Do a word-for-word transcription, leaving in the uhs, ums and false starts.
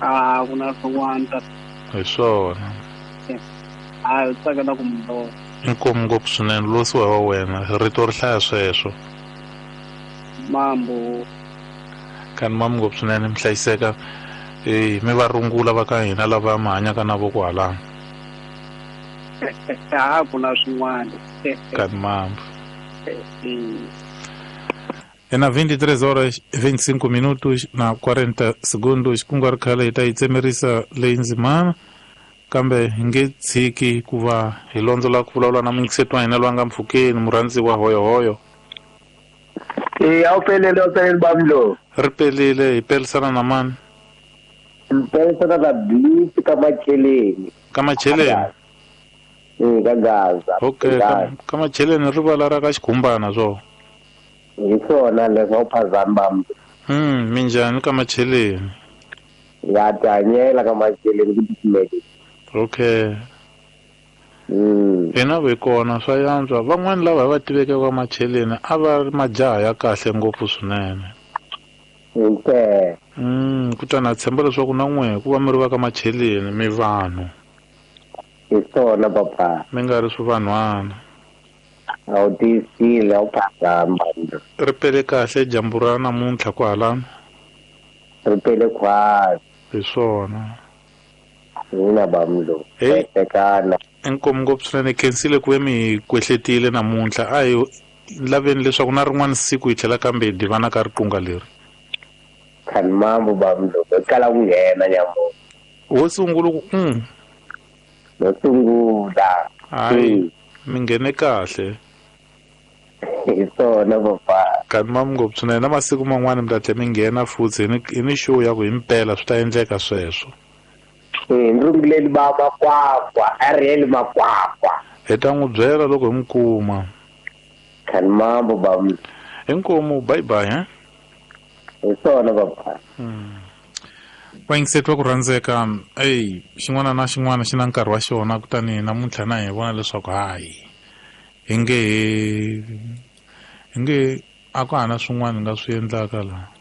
A ku na swin'wana ta Hi swona. A hi tsakela ku mi vona. Inkomu ngopfu swinene losiwa wa wena rito ri hlaya sweswo. Mambo. Kani mamu ngopfu swinene mi hlayiseka. Eh mi va rungula va ka hina lava mi hanyaka na vo kwalano. A ku na swin'wana. Kani mambo. E na vinte e três horas vinte e cinco minutos na quarenta segundos ku nga ri khale hi ta yi tsemerisa leyi ndzimana kambe hi nge tshiki ku va hi londzola ku vulavula na muyingiseti wa hina loyi a nga mpfhukeni murhandziwa hoyohoyo. E a wu pelele a wu pelele bamlo. Ri pelile hi pelisana na mani? Hi pelisana na Bliss ka Macheleni. Ka Macheleni? E ka Gaza. Okay, ka, ka Macheleni rivala ra ka Xikhumbana swo. Hi swona leswo a wu phazami bamlo. Hmm, minjhani ka Macheleni? Ya tihanyela ka Macheleni ku titimele. Okay. Mm. Hina ve kona swa yantswa van'wani lava hi va tiveke ka Macheleni a va ri majaha ya kahle ngopfu swinene. Okay. Mm, kutani na tshemba leswaku na n'we ku va mi ri va ka Macheleni mi vanhu. Hi swona papa. Mi nga ri swivanhwana. A wu tiyisile a wu phazama. Ri pele kahle dyambu ra namuntlha kwalano. Ri pele khwatsi. Hi swona. Hina bamlo. Hey. Tekana. Inkomu ngopfu swinene khensile ku ve mi kwehletile namuntlha a hi laveni leswaku na rin'wana siku hi tlhela kambe hi divana ka riqunga leri. Kani mambo bamlo hi kala ku nghena nyamuntlha. Wo sungula ku mm. Wo sungula. Hayi mi nghene kahle. Hi swona papa. Kani mambo ngopfu swinene na masiku man'wana mi ta tlhela mi nghena futhi hi ni hi ni show ya ku himpela swi ta endleka sweswo. Eh ndzi ba makwakwa Ariel makwakwa. Hi ta n'wi byela loko hi n'wi kuma. Kani mambo bamlo. Inkomu bye bye he. Hi swona papa. Hmm. Vayingiseti va ku rhandzeka ey xin'wana na xin'wana xi na nkarhi wa xona kutani namuntlha na hi vona leswaku hayi hi nge hi nge a ku hana swin'wana hi nga swi endlaka laha.